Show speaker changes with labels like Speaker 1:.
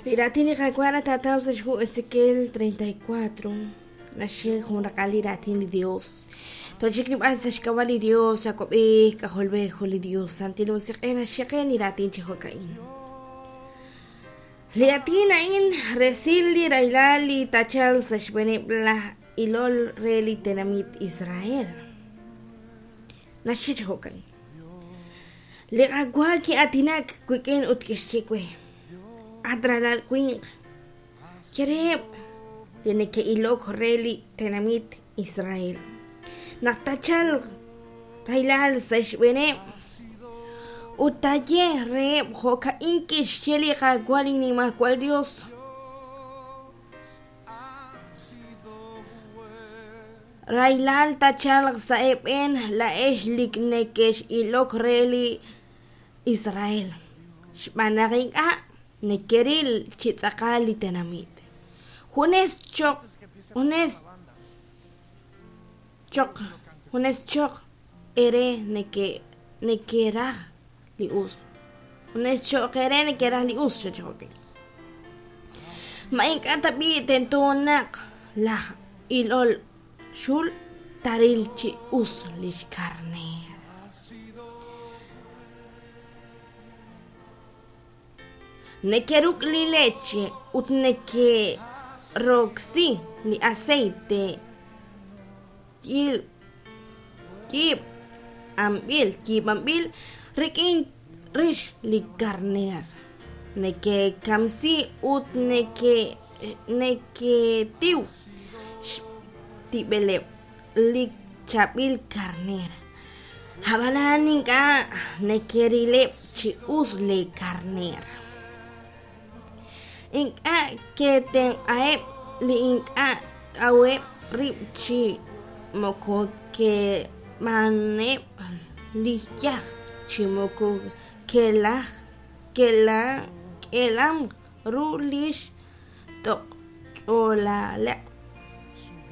Speaker 1: Li raatin li Qaawa' nataataw sa' xhu Ezequiel 34, naxye jun raqal li raatin li Dios. Tochik nib'an sa' xk'ab'a' li Dios, Awab'ej, K'ajolb'ej, jun li Dios, Santil Musiq'ej naxye qe li raatin chi jo'ka'in. Li aatin a'in resil li rahilal li taachalq sa' xb'eeneb' laj ilol re li tenamit Israel. Naxye chi jo'ka'in. Li Qaawa' ki'aatinak wik'in ut kixye we, At ralal winq, ye reheb' li neke'ilok re li tenamit Israel naq taachalq rahilal sa' xb'eeneb' ut taaye reheb' jo'ka'in kixye li Qaawa' li Nimajwal Yos. Rahilal taachalq sa' eeb'een laa'ex li nekex'ilok re li Israel, xb'aan naq ink'a' nekeril chi tz'aqal li tenamit. Junes choq junes choq junes choq eere neke nekeraj li us. Junes cho'q eere nekeraj li us, xachajo'kil. Ma ink'a' tab'i' tento naq laj ilol xul taril chi us li xkarneer? Nekeruk' li leche ut nekeroksi li aceite yiib'anb'il yiib'anb'il rik'in rix li karneer. Nekekamsi ut neketiw xtib'eleb' li chaab'il karneer. Ab'anan ink'a' nekerileb' chi us leekarneer. Ink'a' ketenq'aheb' li ink'a' kaweb' rib' chi moko keb'aneb' li yaj chi moko kelaj kelamq ru li xtoch'olaleb'.